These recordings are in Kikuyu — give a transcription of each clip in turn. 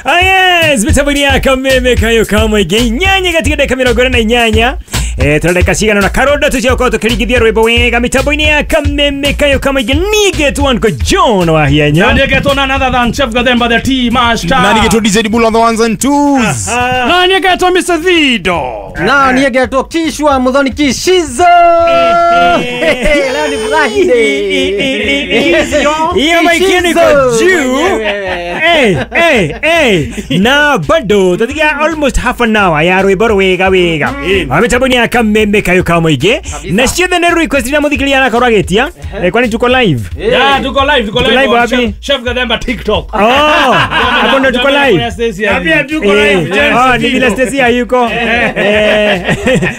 Ah, yes, mitaburia kameme kayo kamwe nyanya katika dakika 48. Tunadaka cigana na karoda tuciokorwo tukirigithia rwimbo wega mitambo-inĩ ya kameme kayo kamwe nigetwo Uncle John wa Hienya Na nigetwo none other than Chef Gathemba the Tea Master. Na nigetwo DJ Bull on the ones and twos. Na nigetwo Mr. Thido. Na nigetwo Kishwa Muthoni Kishizo. Leo ni Friday. Hiyo mic iko juu. Hey, hey, hey. Na bado tatiga almost half an hour ya rwimbo rwega wega. Mitambo-inĩ ya kameme kayo kamwe na ciothe nĩ request ira muthikiria arakorwo agĩtia. Kwani tuko live? Yeah, tuko live, tuko live wapi? Chef Gathemba TikTok. Oh, hapo ndo tuko live. Pia tuko live. Oh, ni vile Stacy hayuko.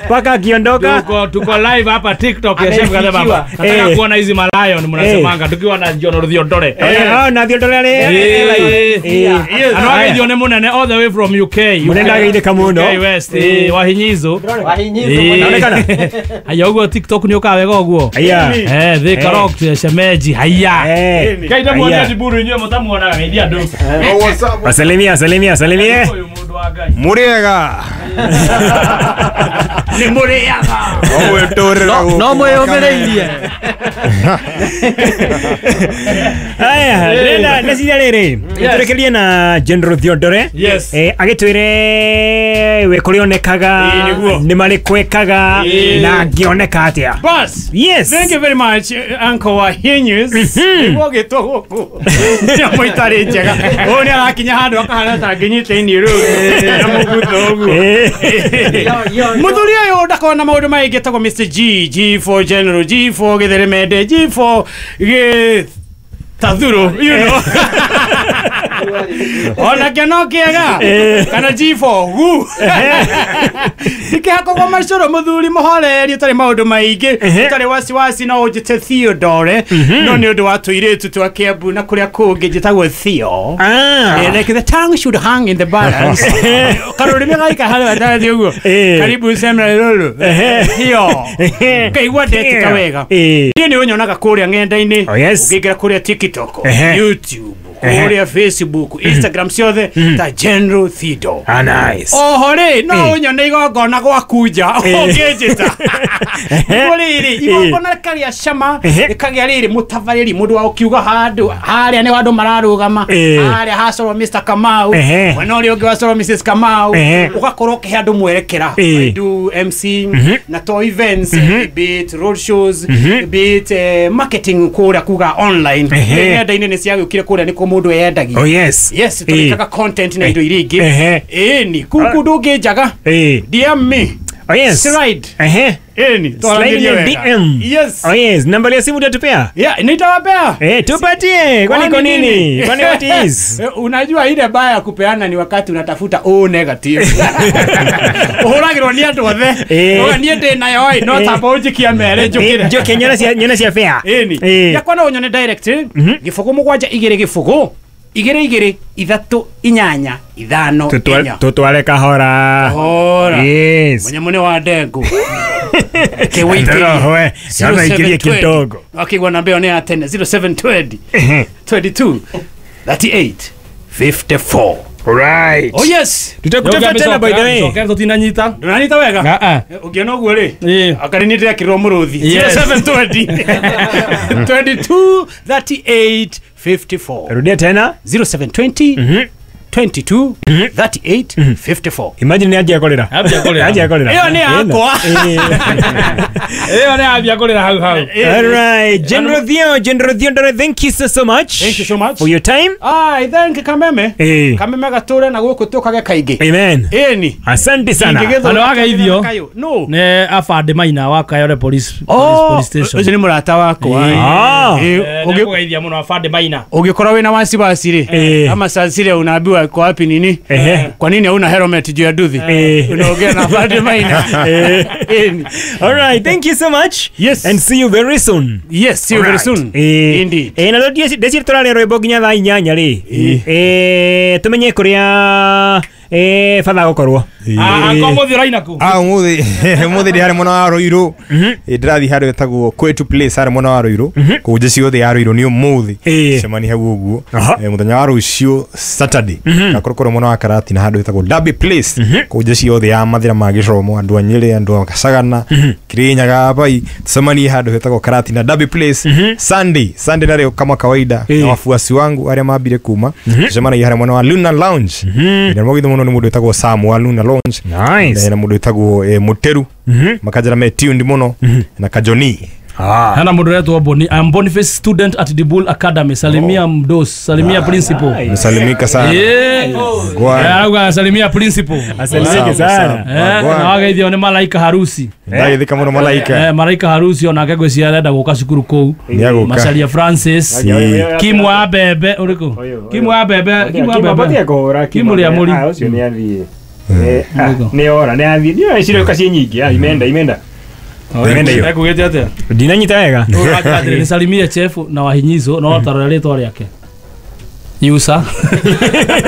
Paka akiondoka. Tuko live hapa TikTok ya Chef Gathemba. Nataka kuona hizi malayon mnasemanga tukiwa na John Thiondore. Oh, na Thiondore ale live. Anawage John munene all the way from UK. Munene ageithĩka mũno. UK West, wahinyizo. Wahinyizo. Naonekana. Haya uguo TikTok ni uka wega uguo. Haya. Thika rock shemeji haya. Kaita muone Diburu inyuĩ mũtamuonaga geithia andũ. Salimia, salimia, salimia. Muriega. Ni muriaga. No mwĩyũmĩrĩirie. Haya, ndĩrenda ndeciria rĩrĩ. Tũrekerie na General Thiondore. Yes. Agĩtwĩre we kũrĩa onekaga nĩ marĩkũ ekaga na angĩoneka atĩa. Bas. Yes. Thank you very much, Uncle Wahinyus. Nĩguo gĩtwo gũkũ. Nyamũ itarĩ njega. Ũyũ nĩ arakinya handũ akahana ta angĩnyita iniũrũ na mũgutho ũguo. Mũthuri ũyũ ndakoragwo na maũndũ maingĩ etagwo Mr. G, G for General, G for Gĩtheremende, G for Gĩtathuro, you know. Ona kĩano kĩega kana G for gu. Ndikĩhakagwo macũrũ mũthuri mũhoreri ũtarĩ maũndũ maingĩ ũtarĩ wasiwasi no ũnjĩte Theodore no nĩ ũndũ wa tũirĩtu twa Kiambu na kũrĩa kũngĩ njĩtagwo Theo. Like the tongue should hang in the balance. Karũrĩmĩ gaika harĩa gatagatĩ ũguo. Karibu sema lolo. Theo. Kaigua ndetika wega. Niĩ nĩ ũnyonaga kũrĩa ng'enda-inĩ. Ũngĩingĩra kũrĩa TikTok, YouTube, kũrĩa Facebook, Instagram ciothe ta General Thido. Ah, nice. Oho rĩ, no ũnyone igongona gwaku nja ũngĩnjĩta. Rĩrĩ, igongona rĩkagĩa cama, rĩkagĩa rĩrĩ mũtabarĩri mũndũ wa ũkiuga handũ harĩa nĩ andũ mararũgama, harĩa hacorwo Mr. Kamau, mwena ũrĩa ũngĩ wacorwo Mrs. Kamau, ũgakorwo ũkĩhe andũ mwerekera. I do MC na to events, be it road shows, be it marketing kũrĩa kuga online. Ng'enda-inĩ nĩ ciagĩũkire kũrĩa nĩkuo mũndũ eyendagia. Oh yes. Yes, tũrekaga content na indo iria ingĩ. Ĩni, kũu ndũngĩnjaga. DM me. Oh yes. Slide. Ĩni, Slide in DM. Yes. Oh yes, namba ya simu utatupea? Yeah, nitawapea. Tupatie. Kwani kwa nini? Kwani what is? Unajua ile baya ya kupeana ni wakati unatafuta O negative. Uhuragirwo ni andu othe. Uga nie ndi nayo ĩ no tamba unjikia mere njukire. Njoke nyona cia fair. Ĩni. Yakwa no unyone direct. 0 7 2 0 2 2 3 8 5 4. Tutware kahora. Kahora. Yes. Mũnyamũ nĩ wa ndengu. Kewe ikirie kidogo. Akigwa namba ĩyo nĩ ya tene 0720 22 38 54. Right. Oh yes. Tutakutafuta tena by the way. Sokera tutinanyita. Ndũranyita wega? Ũngĩona ũguo rĩ, akari nĩ ndĩrekĩrwo mũrũthi. 0720 22 38 54. Rudia tena. 0720 22 38 54. Imagine ni aje kolera. Aje kolera. Iyo ni yakwa. Iyo ni aje kolera hau hau. All right, General Theo, General Theodore, thank you so much. Thank you so much for your time. I thank Kameme. Kameme gature na guku tukage kaingi. Amen. Eni. Asante sana. Ano ageithio. No. Ne afande Maina wa Kayole police station. Ucio ni murata wakwa. Ũngĩgeithia muno afande Maina. Ũngĩkorwo wĩna wasiwasi rĩ, ama saa zile unaambiwa uko wapi nini? Kwa nini hauna helmet juu ya duthi? Unaongea na afande Maina. All right, thank you so much. Yes. And see you very soon. Yes, see you very soon. Indeed. Na ndeciria tũraria rwĩmbo nginya thaa 8 rĩ. Tumenye kũrĩa Fatha gukorwo. Anko muthi uraina ku? Muthi muthi ndi hari mwena wa Ruiru. Ndirathi handu etagwo Kwetu Place hari mwena wa Ruiru. Kuu jeshi yothe ya Ruiru ni umuthi. Cemani hau uguo. Muthenya wa rucio Saturday. Gakorwo mwena wa Karati na handu etagwo Derby Place. Kuu jeshi yothe ya mathira ma gicomo andu a Nyeri andu a Kasagana Kirinyaga bai tucemanie handu hetagwo Karati na Derby Place. Sunday narĩo kama kawaida na wafuasi wangu arĩa mambire kuma tucemanagia harĩa mwena wa Luna Lounge. Na mũgitho mũno nĩ mũndũ wĩtagwo Sam wa Luna Lounge. Nice. Na mũndũ wĩtagwo Muteru makanjĩra me tuned mũno na Kajoni. Hana mũndũ ũretwo Boni. I'm Boniface student at Dibul Academy. Salimia mdos, salimia principal. Msalimika sana. Arauga salimia principal. Asalimike sana. Na wageithio nĩ Malaika Harusi. Ndageithĩka mũno Malaika. Malaika Harusi onake ngwĩciria arenda gũka cukuru kũu. Macaria Francis. Kimu wa Bebe ũrĩkũ? Kimu wa Bebe, Kimu wa Bebe. Kimu rĩa mũri. Ũcio nĩ athiĩ. Nĩ ora nĩ athiĩ. Nĩ ciroka ciĩ nyingĩ. Imenda. Ekugĩte atĩa? Ndinanyita wega. Nisalimie chef na wahinyizo no tarora rĩtwa rĩake. Yusa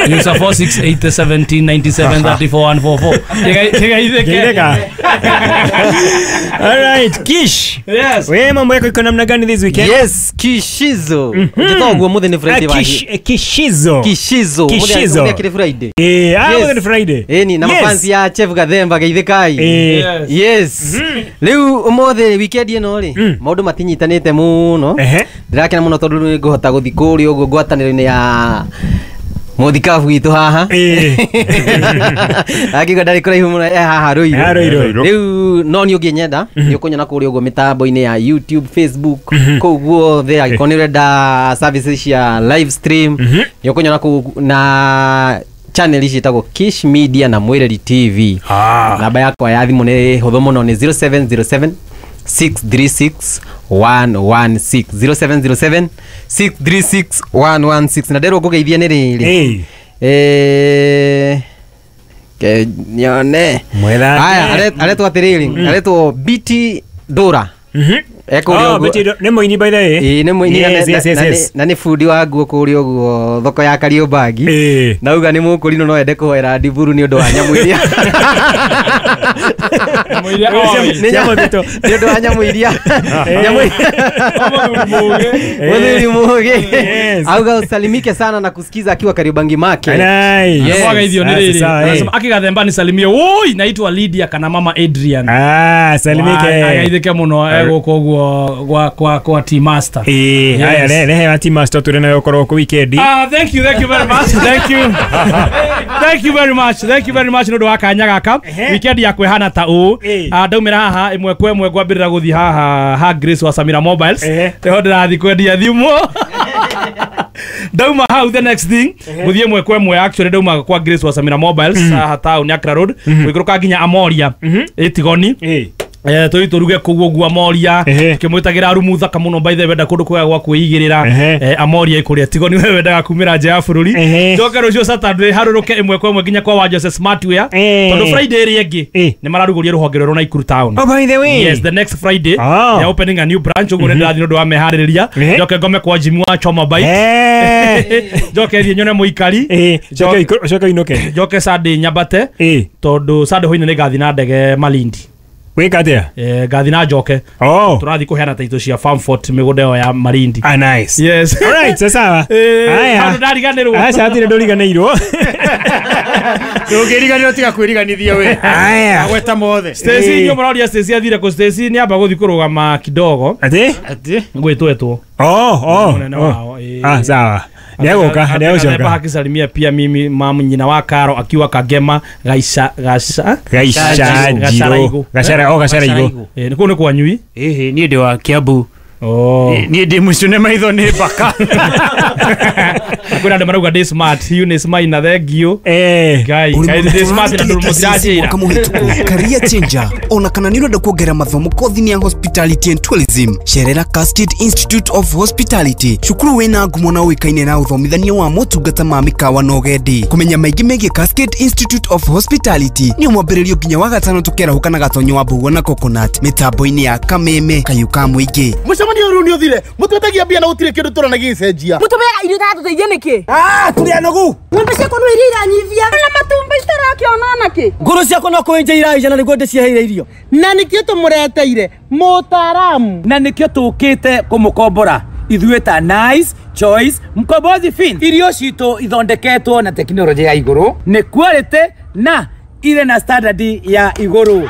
Yusa 468779734144. Kigaitheke. All right, Kish. Yes. Wewe mambo yako iko namna gani this weekend? Yes, Kishizo. Ngitoguo muthi ni Friday wa. Kishizo. Kishizo. Kishizo. Muthi Friday. Muthi ni Friday. Ni na mafansi ya Chef Gathemba geithikai. Yes. Riu umuthi weekend ino ri maundu matinyitanite muno. Ndirakena muno tondu ni nguhota guthi kuria uguo ngwataniro-ini ya muthikabu gitu haha. Akiuga ndarĩ kũraihu mũno haha Ruiru. Rĩu no niĩ ũngĩnyenda nĩ ũkũnyona kũrĩa ũguo mĩtambo-inĩ ya YouTube, Facebook, kũu guothe angĩkorwo nĩ ũrenda services cia live stream nĩ ũkũnyona kũu na channel ici ĩtagwo Kish Media na Mwireri TV. Namba yakwa ya thimũ nĩ hũthũ mũno nĩ 0707 636 116 0707 636 116 na nderwo ngũgeithia nĩ rĩrĩ nyone aya aretwo atĩrĩrĩ aretwo BT Dora. Nĩ mũini by the way. Nĩ mũini na nĩ bundi wa nguo kũrĩa ũguo thoko ya Kariobangi. Nauga nĩ mũkũrinũ no ende kũhoera Ndiburu nĩ ũndũ wa nyamũ iria. Nĩ ũndũ wa nyamũ iria. Mũthuri mũgĩ. Auga usalimike sana na kusikiza akiwa Kariobangi make. Wageithio nĩ rĩrĩ. Akigathemba nisalimie. Oi, naitwa Lydia kana mama Adrian. Salimike. Agaithike mũno egũkũ ũguo kwa Team Master. Haya rehe wa Team Master tũrĩ nayo korwo ku weekend. Thank you very much. Thank you. Thank you very much. Thank you very much nĩ ũndũ wa kanya gaka. Weekend yakwa ĩhana ta ũũ. Ndaumĩra haha ĩmwe kwa ĩmwe ngwambĩrĩra gũthiĩ haha ha Grace wa Samira Mobiles. Nĩho ndĩrathiĩ kwendia thimũ. Ndauma hau the next thing guthie mwe kwa mwe actually ndauma kwa Grace wa Samira Mobiles haha town Accra Road gwikũrũka nginya Amoria ĩtigoni tũi tũruge kũu ũguo Amoria kĩmwĩtagĩra rumu thaka mũno by the way wenda kũndũ kwega gwa kwĩigĩrĩra Amoria ĩkũrĩa Tigoni we wendaga kumĩra nja ya bũrũri njoke rũciũ Saturday harũrũke ĩmwe kwa ĩmwe nginya kwa wa Jose Smartwear tondũ Friday ĩrĩa ĩngĩ nĩ mararugũria rũhonge rwerũ Nakuru town. Oh, by the way. Yes, the next Friday they are opening a new branch ũguo nĩ ndĩrathiĩ nĩ ũndũ wa meharĩrĩria njoke ngome kwa Jimmy wa Choma Bike njoke thiĩ nyone mũikari njoke inũke njoke Sunday nyambate tondũ Sunday hwainĩ nĩ ngathiĩ na ndege Malindi. Wika atia? Ngathi na njoke. Tũrathiĩ kũheana taito cia Farmfort mĩgũnda ĩyo ya Malindi. Nice. Yes. All right, sawa. Haya. Handũ ndariganĩrwo. Aca hatirĩ ndũriganĩirwo. Ndũngĩriganĩrwo tiga kwĩriganithia we. Haya. Agweta mothe. Stacy inyuĩ mũroria Stacy athire kũ? Stacy nĩ amba gũthiĩ kũrũgama kidogo. Atĩ? Atĩ? Gwĩtwetwo. Mũnene wao. Sawa. Nĩegũka, nĩegũcoka. Akisalimia pia mimi mamu nyina wa Karo akiwa Kagema Gaisha Gasha Gaisha Gashara Gashara Igo. Nĩ kũu nĩ kwanyui? Ĩhĩ, niĩ ndĩ wa Kiambu. Niĩ ndĩ mũcune maitho nĩ mbaka. Kwĩna andũ marauga ndĩ smart, Eunice Maina thank you. Ngai, Ngai ndĩ smart na ndũ mũtiranjĩra. Mwaka mũhĩtũku career changer ona kana nĩ ũrenda kuongerera mathomo kothi-inĩ ya hospitality and tourism cerera Cascade Institute of Hospitality cukuru wĩna ngumo na ũĩkaine na ũthomithania wa motungata ma mĩkawa na ũgendi. Kũmenya maingĩ megiĩ Cascade Institute of Hospitality nĩ mwambĩrĩrio nginya wa gatano tũkerahũka na gatonyo wa mbũguo na coconut mĩtambo-inĩ ya Kameme Kayũ ka mũingĩ. Mũcemanio rĩu nĩ ũthire mũtwetagia mbia na gũtirĩ kĩndũ tũrona gĩgĩcenjia. Mũtũmĩaga irio itatũteithia nĩkĩ? Tũrĩ anogu. Ng'ombe ciakwa no iria iranyivia na matumbi. Ũrakĩona ona kĩ? Ngũrũ ciakwa no kũenja iraija na nĩguo ndĩciheire irio. Na nĩkĩo tũmũreteire mũtaaramu. Na nĩkĩo tũkĩte kũmũkombora ithuĩ ta Nice Choice Mkombozi Fin. Irio citũ ithondeketwo na tekinoronjĩ ya igũrũ, nĩ quality na irĩ na standard ya igũrũ.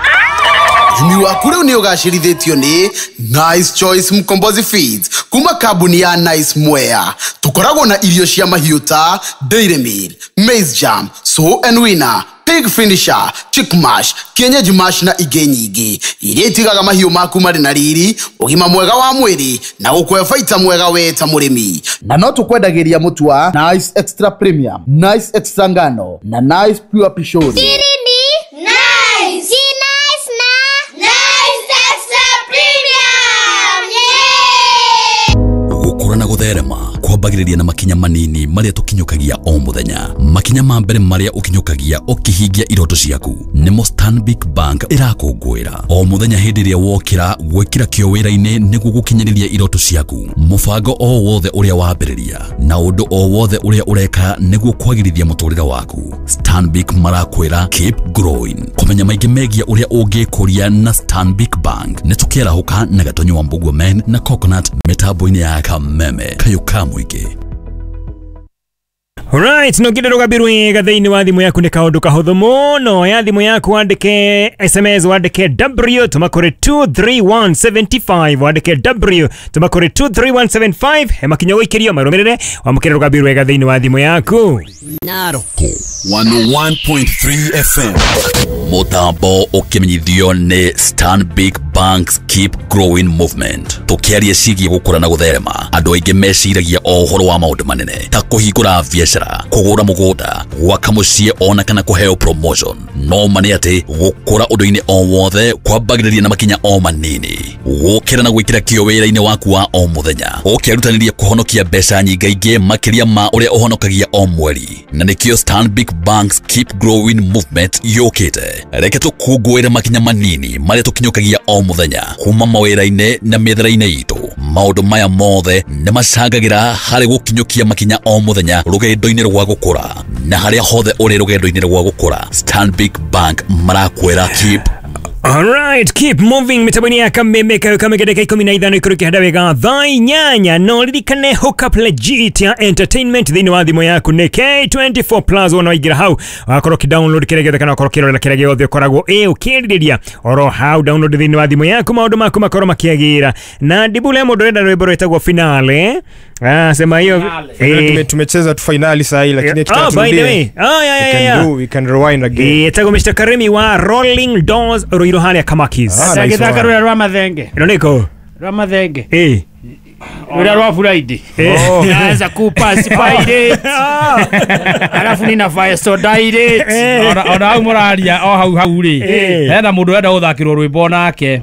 Ũrĩmi waku rĩu nĩ ũgacĩrithĩtio nĩ Nice Choice Mkombozi Feeds kuma kambuni ya Nice Mwea. Tũkoragwo na irio cia mahiũ ta Dairy Meal, Maize Jam, Sow and Winner, Pig Finisher, Chick Mash, Kienyeji Mash na ingĩ nyingĩ iria itigaga mahiũ maku marĩ na riri, ũgima mwega wa mwĩrĩ na gũkũhe baita mwega we ta mũrĩmi. Na no tũkwendagĩria mũtu wa Nice Extra Premium, Nice Extra Ngano na Nice Pure Pishori. Siri ni Nice. Si Nice na Nice Extra Premium. Yeah! Gũkũra na gũtherema kwambagĩrĩria na makinya manini marĩa tũkinyũkagia o mũthenya. Makinya ma mbere marĩa ũkinyũkagia ũkĩhingia iroto ciaku nĩmo Stanbic Bank ĩrakũngũĩra o mũthenya hĩndĩ ĩrĩa wokĩra gwĩkĩra kĩo wĩra-inĩ nĩguo gũkinyanĩria iroto ciaku. Mũbango o wothe ũrĩa wambĩrĩria na ũndũ o wothe ũrĩa ũreka nĩguo kwagĩrithia mũtũrĩre waku, Stanbic marakwĩra keep growing. Kũmenya maingĩ megiĩ ũrĩa ũngĩkũria na Stanbic Bank nĩ tũkĩarahũka na Gatonyo wa Mbugua Men na Coconut mĩtambo-inĩ ya Kameme kayũ ka mũingĩ. Alright, no ngire rũgambi rwega thĩinĩ wa thimũ yaku nĩ kaũndũ kahũthũ mũno. Ya thimũ yaku wandĩke SMS, wandĩke W tũma kũrĩ 23175, wandĩke W tũma kũrĩ 23175. He makinya gũikĩrio marũmĩrĩre wamũkĩre rũgambi rwega thĩinĩ wa thimũ yaku. Naroko 101.3 FM mũtambo ũkĩmenyithio nĩ Stanbic Bank's Keep Growing Movement. Tũkĩaria ciĩgiĩ gũkũra na gũtherema, andũ aingĩ meciragia o ũhoro wa maũndũ manene ta kũhingũra biacara, kũgũra mũgũnda, gwaka mũciĩ ona kana kũheo promotion. No ma nĩ atĩ gũkũra ũndũ-inĩ o wothe kwambagĩrĩria na makinya o manini. Gũkĩra na gwĩkĩra kĩo wĩra-inĩ waku wa o mũthenya, ũkĩrutanĩria kũhonokia mbeca nyingaingĩ makĩria ma ũrĩa ũhonokagia o mweri. Na nĩkĩo Stanbic Bank's Keep Growing Movement yũkĩte. Reke tũkũngũĩre makinya manini marĩa tũkinyũkagia o mũthenya kuma mawĩra-inĩ na mĩethere-inĩ itũ. Maũndũ maya mothe nĩ macangagĩra harĩ gũkinyũkia makinya o mũthenya rũgendo-inĩ rwa gũkũra. Na harĩa hothe ũrĩ rũgendo-inĩ rwa gũkũra, Stanbic Bank marakwĩra keep. Alright, keep moving mitambo-inĩ ya Kameme kayo kamege dakika 15 ikũrũ kĩhanda wega thaa 8. No ririkane hookup legit ya entertainment thĩinĩ wa thimũ yaku nĩ K24 plus. Wona waingĩra hau wakorwo ũkĩ-download kĩrĩa gĩothe kana wakorwo ũkĩrorera kĩrĩa gĩothe ũkoragwo ũkĩrirĩria oro hau. Download thĩinĩ wa thimũ yaku maũndũ maku makorwo makĩagĩra. Na ndibule mũndũ ũrenda rwĩmbo rwĩtagwo finale. Sema hiyo tumecheza tu finali saa hii lakini by the way. Yeah. We can rewind again. Etagwo Mr. Karemi wa Rolling Doors Ruiru harĩa Kamakis. Agĩthaka rwĩra rwa mathenge. Ĩno nĩkũ? Rwa mathenge. Rwĩra rwa Friday. Naanza kupass pirate. Alafu nina so direct. Ona hau mũraria o hau hau rĩ. Hena mũndũ ũrenda gũthakĩrwo rwĩmbo nake.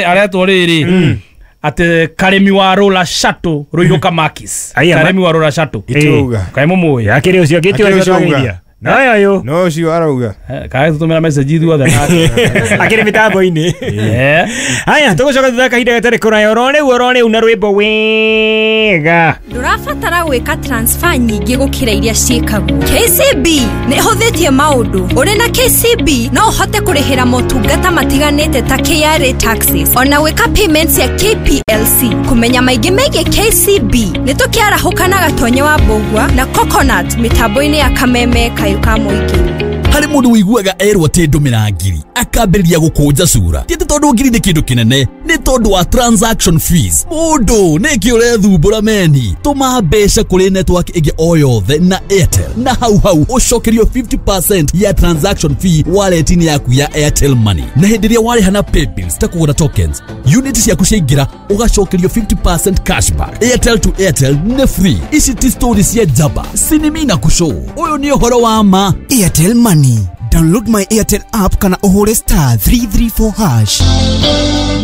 Aretwo rĩrĩ. Ate Karemi wa Rola Shato Ruiru Kamakis. Karemi wa Rola Shato. Kaĩ mũmũĩ? Akĩrĩ ũcio akĩtio ũcio. No yo. No ũcio arauga. Kaĩ tũtũmĩra message ithuothe nake. Akĩrĩ mĩtambo-inĩ. Haya, tũgũcoka thutha kahinda gatarĩ kũraya oro rĩu na rwĩmbo wega. Ndũrabatara gwĩka transfer nyingĩ gũkĩra iria ciĩkagwo. KCB nĩ ĩhũthĩtie maũndũ. Ũrĩ na KCB no ũhote kũrĩhĩra motungata matiganĩte ta KRA taxes ona gwĩka payments ya KPLC. Kũmenya maingĩ megiĩ KCB nĩ tũkĩarahũka na Gatonye wa Mbũgua na Coconut mĩtambo-inĩ ya Kameme kayũ ka mũingĩ. Harĩ mũndũ ũiguaga erwo atĩ ndũmĩra ngiri akambĩrĩria gũkũnja cura. Ti atĩ tondũ ngiri nĩ kĩndũ kĩnene, nĩ tondũ wa transaction fees. Mũndũ nĩkĩ ũrethumbũra meni? Tũma mbeca kũrĩ network ĩngĩ o yothe na Airtel na hau hau ũcokerio 50% ya transaction fee wallet-inĩ yaku ya Airtel Money. Na hĩndĩ ĩrĩa warĩha na paybills ta kũgũra tokens, unit ciaku ciaingĩra ũgacokerio 50% cashback. Airtel to Airtel nĩ free. Ici ti story cia njamba, sinimi na kũcũ. Ũyũ nĩ ũhoro wa ma. Airtel Money. Download my Airtel app kana ũhũre star 334 hash.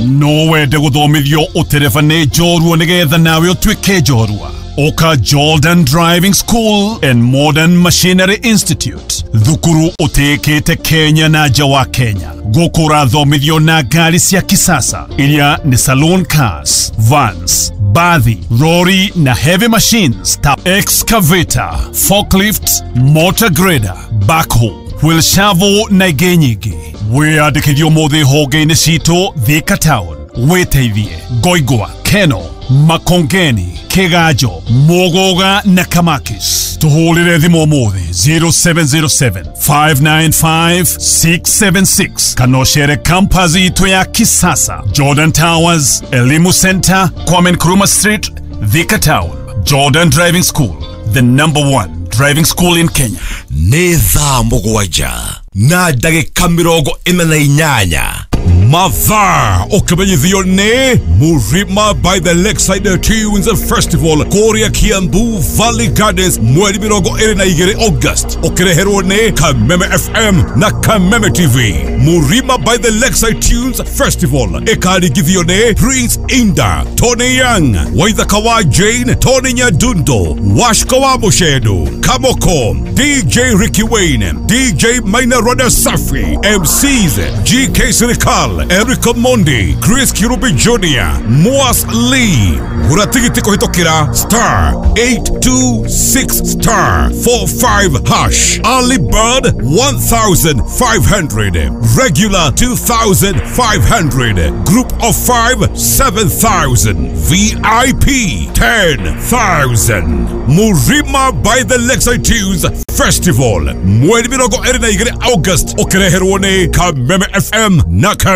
No wende gũthomithio ũtereba nĩ njorua nĩgetha nawe ũtuĩke njorua. Oka Jordan Driving School and Modern Machinery Institute, thukuru ũtĩĩkĩte Kenya na nja wa Kenya. Gũkũ ũrathomithio na ngari cia kisasa iria nĩ saloon cars, vans, bathi, lorry na heavy machines ta excavator, forklift, motor grader, backhoe, wheel shovel na ingĩ nyingĩ. Wĩyandĩkithie ũmũthĩ honge-inĩ citũ Thika Town, wĩteithie Ngoingwa, Keno, Makongeni, Kiganjo, Muguga na Kamakis. Tuhũrĩre thimũ ũmũthĩ 0707 595 676 kana ũcere campus itũ ya kisasa, Jordan Towers, Elimu Center, Kwame Nkrumah Street, Thika Town. Jordan Driving School, the number one driving school in Kenya. Nĩ thaa 7 na ndagĩka 48. Mathaa ũkĩmenyithio nĩ Murima by the Lakeside Tunes Festival kũrĩa Kiambu Valley Gardens mweri 22 August, ũkĩreherwo nĩ Kameme FM na Kameme TV. Murima by the Lakeside Tunes Festival ĩkaringithio nĩ Prince Inda, Tony Young, Waithaka wa Jane, Tony Nyadundo, Washko wa Mushedo, Kamoko, DJ Ricky Wayne, DJ Maina Roda Safi, MCs GK Sirikal, Eric Mondi, Chris Kirubi Jr., Moas Lee. Gura tigiti kũhĩtũkĩra star 826 star 45 hash. Early bird 1500, regular 2500, group of 5 7000, VIP 10,000. Murima by the Lakeside Tunes Festival mweri 22 August, ũkĩreherwo nĩ Kameme FM na